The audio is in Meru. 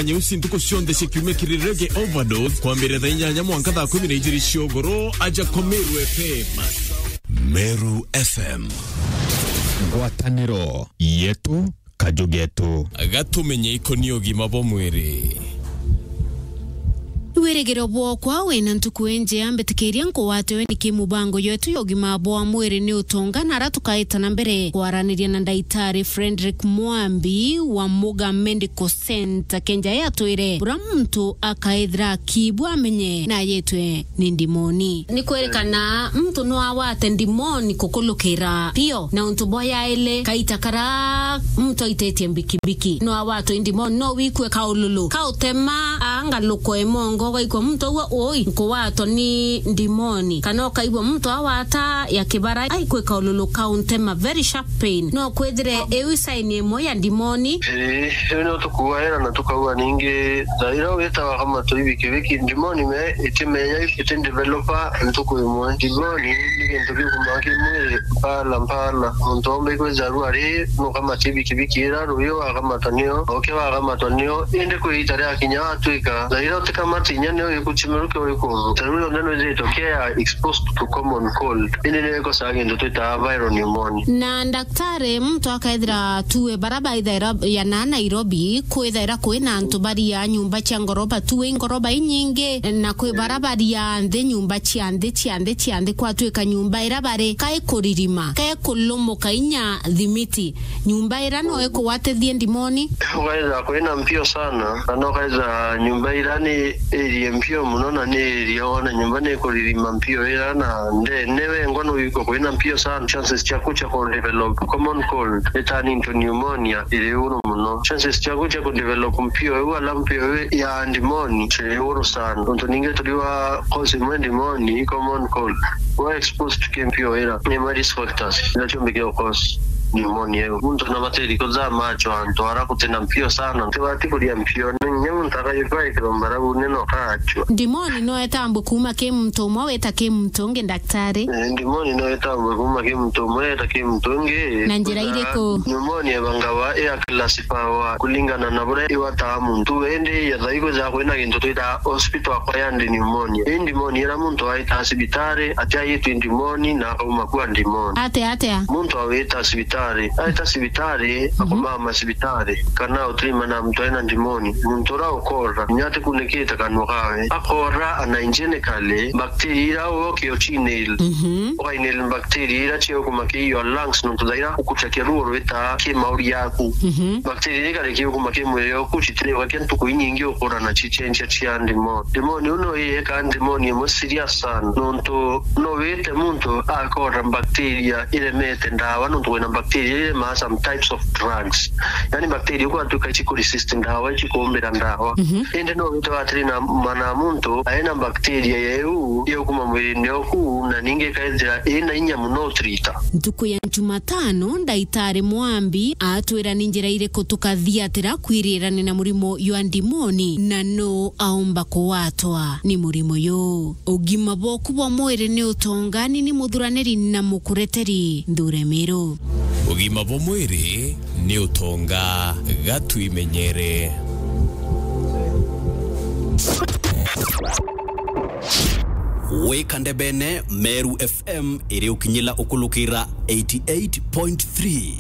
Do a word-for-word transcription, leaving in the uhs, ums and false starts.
Nyeusi ntuku cionthe cia kiumia kiri Reggae Overdose, kwambiriria thaa inyanya mwanka thaa kumi na ijiri cia ugoro, aja kwa Meru F M. Meru F M. Ngwataniro yetu, kaju getu. Gatumenye ikoni ugima bwa mwiri. Wirigiro bwokwa wina ntuku injea, mbitikiria nkugwatwe ni kimubango yetu ya ugima bwa mwiri ni utonga, na ara tukaita na mbere kwaraniria na ndaitari Frederick Mwambi wa Muga Medical Center, kenja yatwire bura muntu akaithira akibwa amenye na yetwe ni ndimoni. Ni kwirikana muntu no awate ndimoni kukulukira pio, na untu bwa yaili kaita kara muntu aitetie mbikibiki. No awatwe i ndimoni, no wikue kaululu kautema, angaluko emongo, ugaikua muntu ugwe, ui, nkuwatwa ni ndimoni. Kana ukaigua muntu awata ya kibara, aikue kaululu kauntema, very sharp pain. No kwithire iu sign imwe ya ndimoni. Ii, riu ni utukuaira na tukauga ningi, thaa iria witawa kama tui bikibiki, ndimoni me itimenya iti developa ntuku imwe. Ndimoni ni gintu giukumaa ki mwiri mpala mpala. Muntu omba ikwithirwa ari nukamatie bikibiki ira ruyo akamatwa nio, oke wakamatwa nio, indi kwi ita riakinya watuika, thaa iria utikamati inya nio ikuchimeruke uri kuntu. Thaa iu yonthe nwithiritwe ke ya exposed to common cold. Indi nio ikosaa gintu twitaa viral pneumonia. Na daktari, muntu akaithira tue bara baithaira ya na Nairobi, kwithaira kwina antu baria nyumba cia ngoroba, tue ngoroba inyingi, na kwi bara baria nthi nyumba cia nthi, cia nthi, cia nthi, kwatuika nyumba ira bari kai kuririma, kai kulumuka inya thimiti. Nyumba ira no ikugwatithie ndimoni? Ukaitha kwina mpio sana, kana ukaitha nyumba ira ni irie mpio muno na ni irie, wona nyumba ni ikuririma mpio ira na ndene wengwa no wikwe kwina mpio sana, chances ciaku cia ku develop common cold ni turn into pneumonia iri iguru muno. Chances ciaku cia ku develop mpio iu ala mpio iu ya ndimoni ciri iguru sana. Untu ningi turiwa cause imwe ndimoni i common cold. Wa exposed to mpio ira ni ma risk factors ila ciumbikia cause pneumonia iu. Muntu na batiri kuthama achwa antu ara gutina mpio sana. Tibati kuria mpio, ni nginya muntu akayukwa ikiromba rau ni no kaachwa. Ndimoni no etambwe kuma ki muntu umwe weta ki muntu ungi, daktari? Eh, ndimoni no etambwe kuma ki muntu umwe weta ki muntu ungi. Na njira iriku? Pneumonia ibangawa iya classifiwa kulingana na buria iwataa muntu. Indi yethai kwithira kwina gintu twitaa hospital acquired pneumonia. Ii ndimoni ira muntu aitaa cibitari, atiaitwi ndimoni na akauma kua ndimoni. Atia, atia? Muntu awita cibitari, aita cibitari, akomama cibitari, kana utirima na muntu aina ndimoni, muntu ura ukora, inya atikunikite kanua kawe, akora unhygienically, bacteria ira uke uchinil, Mhm. ukainil bacteria ira ciukuma ki your lungs, nontu thaira ukuchakia ruo rwita ki mauri yaku. Mhm. Bacteria ira ikari kiukuma ki mwiri oku, citiriugakia ntuku inyingi ukura na cichenjia cia ndimoni. Ndimoni uu no iyeka ndimoni imwe serious sana, nontu no wite muntu akora bacteria iremete ndawa, nontu kwina bacteria iremaa some types of drugs. Yani bacteria ukwatuika icikuresist ndawa, icikuumbira ndawa. Mhm. Indi no wite atiri na mana muntu aina bacteria yeu yukuma mwirine oku, na ningi ikaithira ina inya muno utirita. Ntuku ya Jumatano, ndaitari Mwambi atwira ni njira iriku tukathiatira kwirirania na murimo jwa ndimoni, na nu aumba kugwatwa ni murimo yu. Ugima bwoku bwa mwiri ni utongani ni muthuraniri na mukureteri Nthure Miru. Ugima bwa mwiri ni utonga, gatwimenyere. Wika ndebene, Meru F M iri ukinyila ukulukira eighty eight point three.